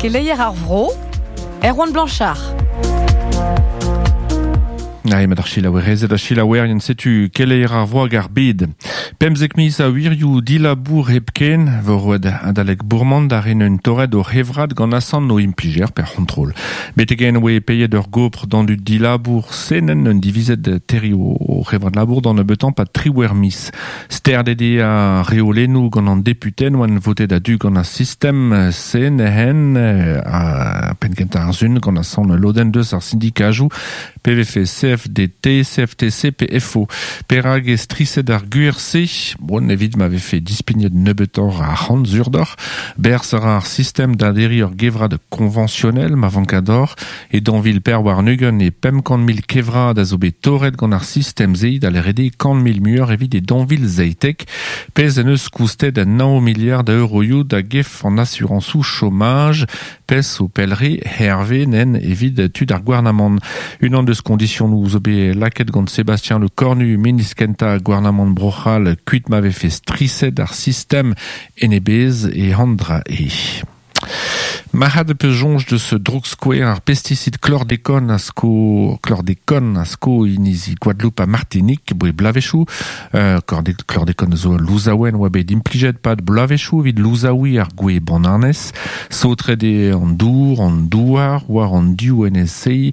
Keleier ar vro, Erwan Blanchard. Ah, emañ ar selaouerezed ha selaouerien setu keleier ar vro hag ar bed. 15 miz a wirioù dilabour hepken vo roet adalek Bourmant da ren un torret o c'hevrad gant asant o implijer per c'hontrol. Betek-henn oe paeet ur gopr d'an dud dilabour senenn un divizet terriñ o c'hevrad labour d'an nebeutañ 'pad triwec'h miz. Sterdet eo ar reolennoù gant an deputeed oant votet a-du gant ar sistem CNHN ha penn-kentañ ar sun gant asant ul lodenn deus ar sindikajoù pe vefe CFDT, CFTC pe FO. Perak eo striset ar gwir-se? Bon, evit ma vefe dispignet nebeutoc'h a arc'hant sur deoc'h. Berzh a ra ar sistem da derriñ ur gevrad koñvañsionel ma vanka deoc'h. E 2024 e 500 000 kevrad a zo bet torret gant ar sistem-se da lâret eo 100 000 muioc'h evit e 2017, pezh en deus koustet 9 miliard a euroioù da gef an asurañsoù chomaj, pezh zo pell-re herve nen evit tud ar gouarnamant. Unan deus kondisionoù zo bet lakaet gant Sébastien Lecornu, ministr kentañ gouarnamant Bro-C'hall, kuit ma vefe striset ar sistem en e bezh e an dra eo. Marc'had peus soñj deus droukskouer ar pestisid chlordécone a sko chlordécone a sko inizi Gwadeloup ha Martinik boe bloavezhioù. Euh, chlordécone zo ul louzaouenn oa bet implijet 'pad bloavezhioù evit louzaouiñ ar gwez bananez. Saotret eo an dour, an douar, war an div enez-se,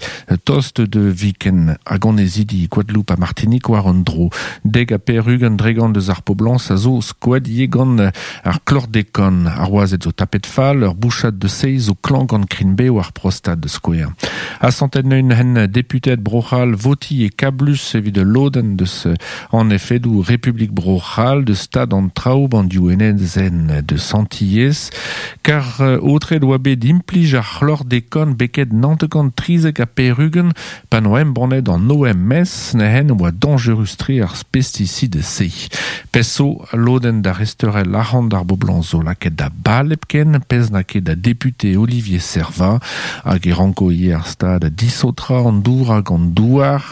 tost da viken hag annezidi Gwadeloup ha Martinik war un dro. 90% deus ar poblañs a zo skoet ivez gant Ar chlordécone, ar wazed zo tapet fall, ur bouchad deus se zo klañv gant krign-bev ar prostad da skouer. Asantet neun hen deputeed Bro-C'hall votiñ e kablus evit ul lodenn deus an efedoù Republik Bro-C'hall deus stad an traoù b'an div enezenn deus Antilhez, kar aotret oa bet implij ar chlordécone beket 973 pa n'oa embannet an OMS neuze oa dañjerus-tre ar pesticide-se. Pezh zo, al lodenn da resteurel arc'hant ar boblañs zo lakaet da bal hepken, pezh n'a ket da depute Olivier Serva, hag e ranko ivez ar stad disaotrañ an dour hag an douar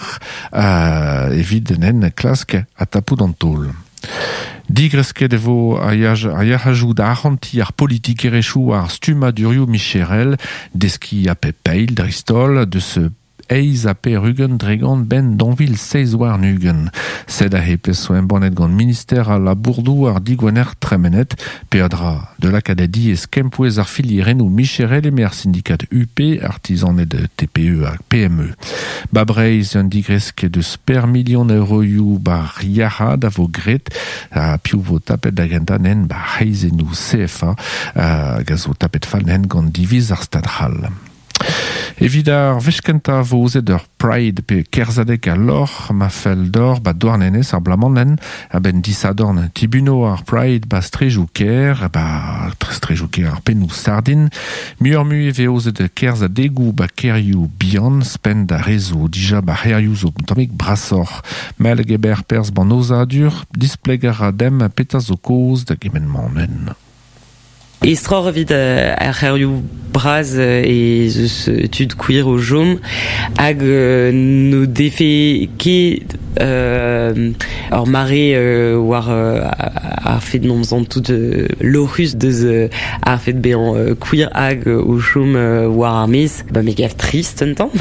evit en klask ha tapout an taol. Digresket e vo ar yac'hajoù da arc'hantiñ ar politikerezhioù war stummadurioù micherel, deskiñ ha pep eil dreist-holl deus 88% 'benn 2027. Sed aze pezh zo embannet gant minister al labour-douar digwener tremenet. Peadra da lakaat da diaes kempouez ar filierennoù micherel eme ar sindikad UP, artizaned TPE ha PME. Ba Breizh un digresk deus per milion euroioù 'bar yac'had a vo graet ha piv vo tapet da gentañ nen 'bar c'hreizennoù CFA hag a zo tapet fall nen gant diviz ar Stad c'hall. Evit ar wech kentañ vo aozet ur Pride pe kerzhadeg al lorc'h ma fell deoc'h 'ba Douarnenez ar bloaz-mañ a-benn disadorn tibuno ar Pride 'ba strejoù kêr 'ba strejoù kêr ar pennoù sardin. Muioc'h-mui e vez aozet kerzhadegoù 'ba kêrioù bihan 'spenn d'ar re zo dija 'ba c'hêrioù zo un tammig brasoc'h. Mell geber perzh 'ban aozadur, displeg a ra demp petra zo kaoz da gement-mañ neuze. Estroc'h evit ar c'hêrioù bras ez eus tud queer o chom hag n'o defe ket ur mare war ar fed n'omp santout lorc'hus deus ar fed bezañ queer hag o chom war ar maez. Ba me gav trist un tamm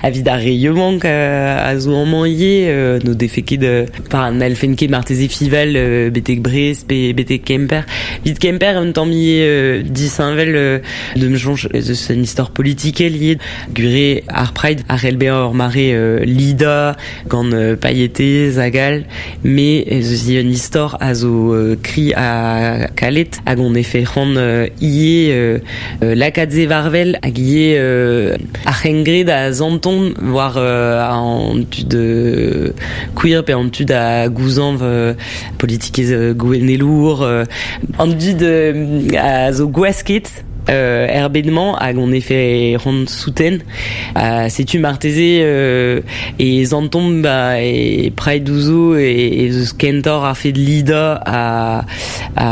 evit ar re yaouank a zo amañ ivez n'o defe ket Enfin, n'hallfen ket marteze fival betek Brest pe betek Kemper. Evit Kemper, un tamm ivez disheñvel de me soñj ez eus un istor politikel ivez. Gwir ar Pride a c'hell bezañ ur mare lidañ gant pailhetez hag all, mais ez eus ivez un istor a zo kri ha kalet hag on efe c'hoant ivez lakaat se war-wel hag ivez ar c'hengred a santont war an tud queer pe an tud a gouzañv politikezh gouennelour an dud a zo gwasket er bed-mañ hag on efe c'hoant souten. Setu marteze e santomp ba e Pride zo ez eus kentoc'h ar fed lidañ a a,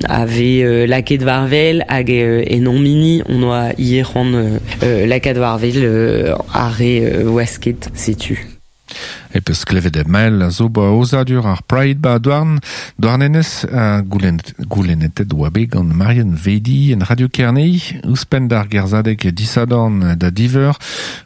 a vez lakaet war-wel hag en hon hini on oa ivez c'hoant lakaat war-wel ar re wasket, setu. E peus klevet mael a zo ba ozadur ar Pride ba douarn, douarnenez a goulennetet oa bet gant Marianne Vedi en Radio Kerne, ouzhpenn d'ar gerzhadeg disadorn da diveur,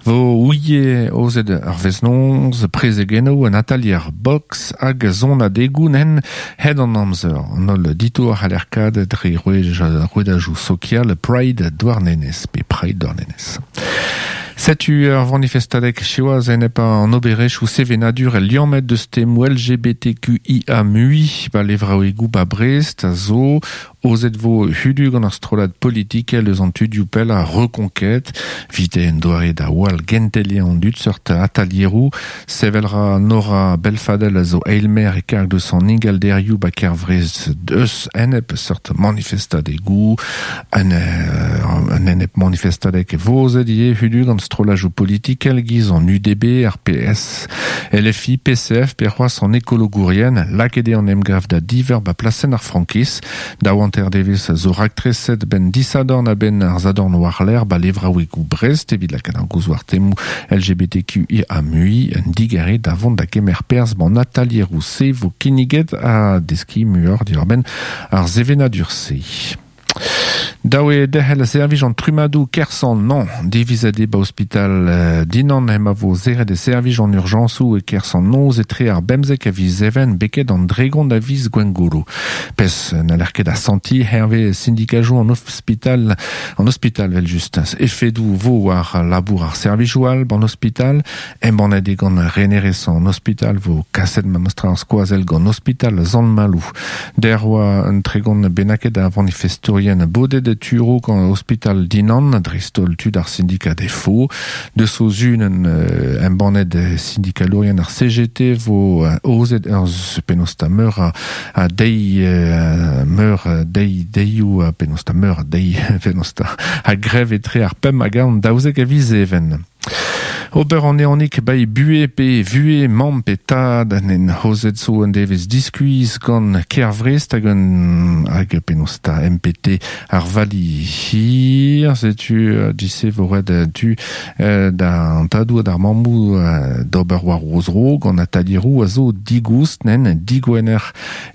vo ouie ozet ar veznonz, prezegeno an atalier box hag zon adegoù nen hed an amzer. An holl ditour c'haller kad dre rouedajou sokial Pride Douarnenez, pe Pride Douarnenez. Setu ur vanifestadeg chewaz enep an oberech ou sevenadur el liammet deus temoù LGBTQIA mui ba levraouegoù ba Brest a zo ozet vo hudu gant ar strollad politikel eus an tudioù pell a Reconquête vite en doare da wall gentelien an dud seurt atalieroù sevel ra Nora Belfadel a zo eilmer e karg deus an ingalderioù ba kervrez deus enep seurt manifestadegoù an, an enep manifestadeg e vozet ivez hudu gant strollajoù politikel giz an UDB, ar PS, LFI, PCF, pe c'hoazh an ekologourien lakaet eo an emgav da diver ba plasenn ar frankiz da oanter devez zo raktreset ben disadorn a ben ar zadorn warler ba levraouegoù Brest evit lakaat ar gouzoù ar temoù LGBTQIA mui un digare da vont da kemer perzh ban atalieroù se vo kinniget ha deskiñ muioc'h diwar-benn ar sevenadur-se. Dav eo derc'hel servij an trummadoù Kersan-Nañ. Divizet eo ba ospital Dinan ema vo serret e servij an urjañsoù e Kersan-Noz etre ar bemzek a viz Even beket an dregont a viz Gwengolo. Pezh n'haller ket asantiñ hervez sindikajoù an ospital an ospital evel-just. Efedoù vo war labour ar servijoù all ban ospital. Embannet eo gant renerez an ospital vo kaset memestra ar skoazell gant ospital Sant-Maloù. Der oa un tregont bennaket a vanifestourien bodet e turo gant ospital Dinan, dreist-holl tud ar syndikat FO. Deus o zunen embannet syndikalourien ar CGT vo ozet ur penaos ta meur a deiz meur deiz deioù penaos ta meur a deiz penaos ta a grev etre ar pemp hag an daouzek a viz Even. Ober an ehanig bai buhez pe vuhez mamm pe tad en hozet zo un devezh diskuizh gant Kervrest hag un hag penaos ta MPT ar vali hir setu dise vo ret tu da an tadoù ha d'ar mammoù d'ober war o zro gant atalieroù a zo digoust nen digwener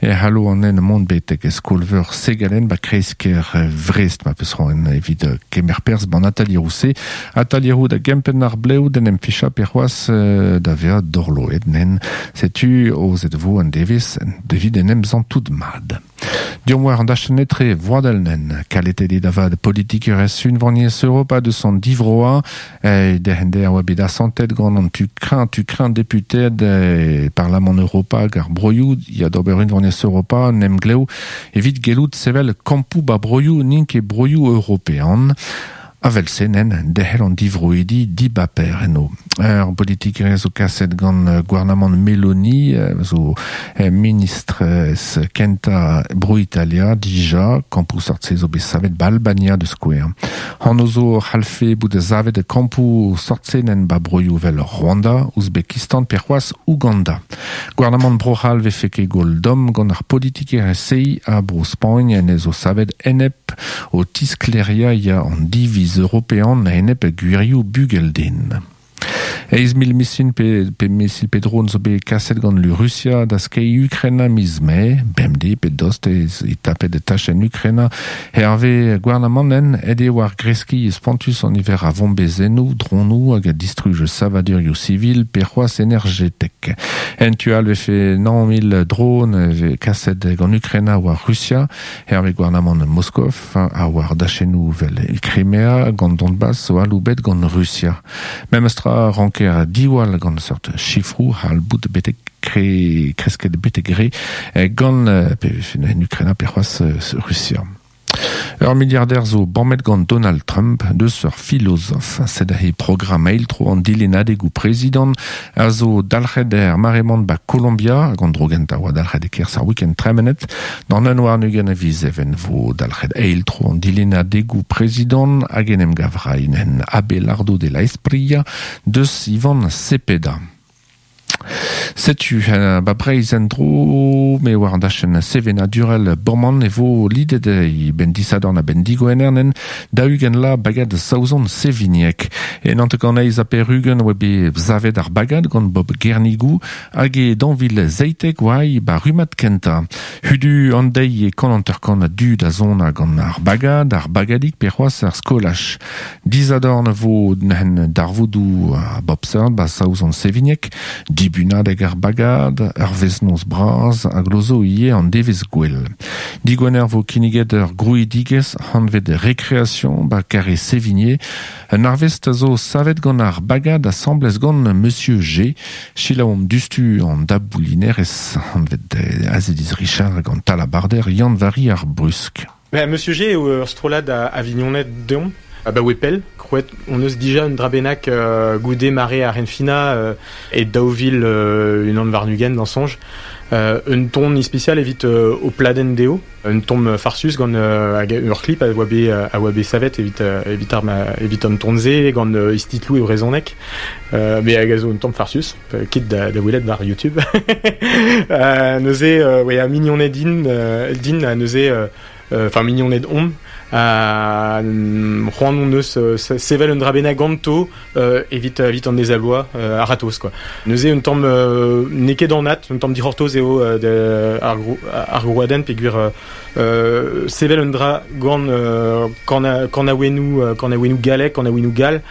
e c'hallo an nen mont betek skol-veur Segalen ba kreiz-kêr Vrest ma peus c'hoant evit kemer perzh ban atalieroù-se atalieroù da gempenn ar blev d'en em fichañ pe c'hoazh da vezañ dorloet nen setu ozet vo an devezh evit en em santout mat. Deomp war an dachenn etre vroadel nen kaletet eo da vat politikerezh unvaniezh Europa deus an divroañ derc'hent a oa bet asantet gant an tu kreñv tu kreñv deputeed e Parlamant Europa hag ar broioù ya d'ober unvaniezh Europa un emglev evit gellout sevel kampoù ba broioù n'int ket broioù european. Avel-se nen derc'hel an divroidi dibaper eno. Ur politikerezh zo kaset gant gouarnamant Meloni zo ministr kentañ Bro-Italia dija, kampoù sort-se zo bet savet ba Albania da skouer. Anv zo c'hallfe bout savet kampoù sort-se nen ba broioù vel Rwanda, Ouzbekistan pe c'hoazh Ouganda. Gouarnamant Bro-C'hall vefe ket gwall domm gant ar politikerezh-se ha Bro-Spagn en zo savet enep o tisklêriañ ya an diviz european a-enep gwirioù bugel-den. Eizh mil misil pe, pe misil pe drone zo bet kaset gant lu Rusia da skeiñ Ukraina miz Mae, bemdez pe dost ez e tapet tachenn Ukraina. Hervez gouarnamant en aet eo war greskiñ spontus an niver a vombezennoù, dronoù hag a distruj savadurioù sivil pe c'hoazh energetek. En tu all vefe nav mil drone vez kaset gant Ukraina war Rusia, hervez gouarnamant Moskov a war dachennoù vel Crimea gant Donbass zo aloubet gant Rusia. Memestra ranker diwall gant seurt sifroù c'hall bout betek kre, kresket betek re gant pe en Ukraina pe c'hoazh Rusia. Ur miliarder zo bammet gant Donald Trump deus ur filozof. Sed he programm eil-tro an dilennadegoù prezidant a zo dalc'het er mare-mañ ba Kolombia hag an dro gentañ oa dalc'het e-kerzh ar week-end tremenet. D'an un warn-ugent a viz Even vo dalc'het eil-tro an dilennadegoù prezidant hag en em gav raint en Abelardo de la Espriella deus Ivan Cepeda. Setu ba Breizh en-dro me war an dachenn sevenadurel Bourmant e vo lidet e benn disadorn a-benn digwener nen 40 la bagad Saozon Sevinieg. E 98 ha perugen oa bet savet ar bagad gant Bob Gernigou hag e 2017 oa ba rummad kentañ. Hudu an deiz e 150 a dud a zona gant ar bagad, ar bagadig pe c'hoazh ar skolaj. Disadorn vo neuzen darvoudoù a bop seurt ba Saozon Sevigneg, dibunadeg ar bagad, ur vezh-noz bras hag glozo ivez an devezh gwell. Digwener vo kinniget ur grouidigezh anvet Récréation ba Carré Sévigné. Un arvest a zo savet gant ar bagad asambles gant Monsieur G. Selaouomp diouzhtu an daboulinerez anvet Aziliz Richard hag an talabarder Yann-Vari ar Brusk. Ben, Monsieur G eo ur strollad a, a vignoned deomp, abaoe pell. Krouet hon eus dija un dra bennak goude mare ar Renfina e 2021 d'an soñj. Un ton ispisial evit ho pladenn dezho. Un tamm farsus gant hag ur clip a oa bet a oa bet savet evit evit ar evit an ton-se gant istitloù e brezhoneg. Mais hag a zo un tamm farsus, kit da, da welet war YouTube. Neuze, ouais, ha mignoned din, din ha neuze enfin mignoned omp ha c'hoant hon eus sevel un dra bennak ganto evit evit an deiz-ha-bloaz a-ratozh quoi. Neuze un tamm n'eo ket anat, un tamm dic'hortoz eo ar ar grouadenn peogwir sevel un dra gant kanaouennoù kanaouennoù gallek, kanaouennoù gall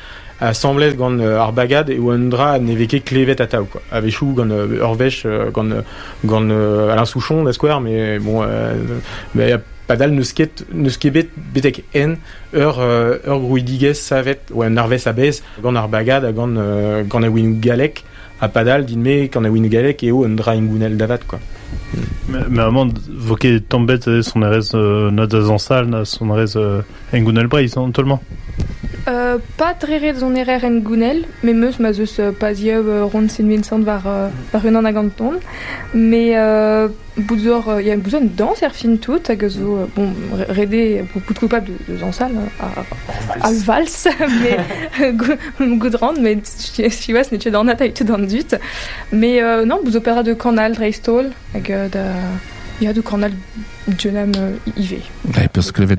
asambles gant ar bagad eo un dra ne vez ket klevet atav quoi. A-wechoù gant ur wech gant gant Alain Souchon da skouer, mais bon mais padal n'eus ket n'eus ket bet betek henn ur ur grouidigezh savet oa un arvest a-bezh gant ar bagad ha gant gant awenoù gallek ha padal din-me gant awenoù gallek eo un dra hengounel da vat quoi. Mais amañ vo ket tamm bet sonerezh na da zañsal na sonerezh hengounel Breizh an taol-mañ. Pas dre ret sonerer hengounel, met 'meus ma 'z eus pazioù ront Saint-Vincent war war unan hag an ton. Mais bout zo ya bout zo un dañs er fin tout hag a zo bon ret eo bout coupable de dañsal al vals mais goût ran met siwazh n'eo ket anat tout an dud. Mais non bout zo peadra de kanal dreist-holl hag da ya de kanal Dionam ivez. Peus klevet.